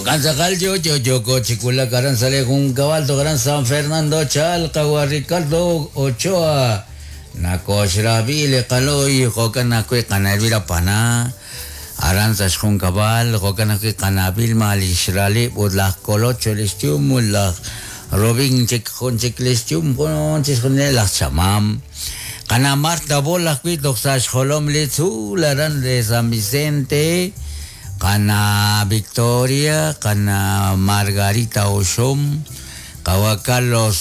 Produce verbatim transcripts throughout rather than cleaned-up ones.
Jo'kan tz'aqal yo yo yoko chikulak aran sale junkab'al toj aran San Fernando Chalqa wa Ricardo Ochoa nakoxrabi li qaloy jo'kan ajwi' qana Elvira Pana aran sa' xjunkab'al jo'kan ajwi' qana Vilma lix ralib' ut laj Colocho lix yum ut laj Robin chik jun chik lix yum jun chixjunil laj chamam qana Marta Bol ajwi' toj sa' xjolom li tzuul aran de San Vicente qana Victoria qana Margarita Oxom qawa Carlos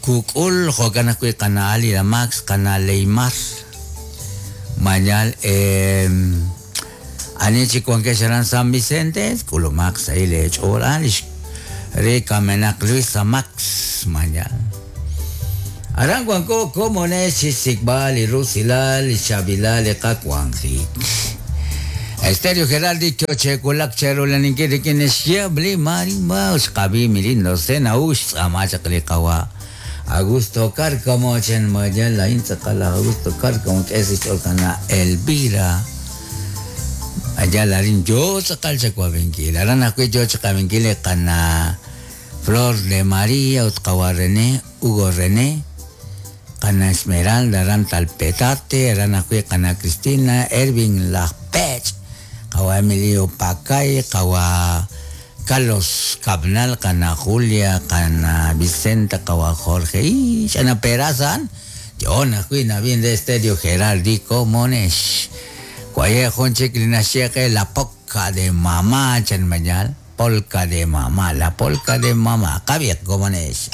Kuk'ul jo'kan ajwi' qana Alida Max qana Leymar mañal eh, ani chik wankex aran San Vicente k'ulumaq sa' li ch'ool ah, lix re kamenaq Luisa Max mañal aran wanko komonex xsikb'al li rusilal li chabilal li qawanjik Estéreo Geraldi chochekulak cherulaninkil rik'in xyabli marimba xqab'i milindo sena ux tz'amachaq li qawa Augusto Cárcamo chen mayal lain tz'aqal Augusto Cárcamo k'esi ch'ol qana Elvira allá larin yo tz'aqal chakuabinkil aran ajwi' yo chaqabinkil qana Flor de María ut qawa René Hugo René qana Esmeralda aran Talpetate aran ajwi' qana Cristina Ervin Lajpech qawa Emilio Pacay qawa Carlos Cabnal qana Julia qana Vicenta qawa Jorge y xana Peraza yo ajwi' nab'in de Estéreo Geraldi Komonex Kwaye jun chik li naxyeqe la polka de mamá chan mañal polka de mamá la polka de mamá qabiq komonex.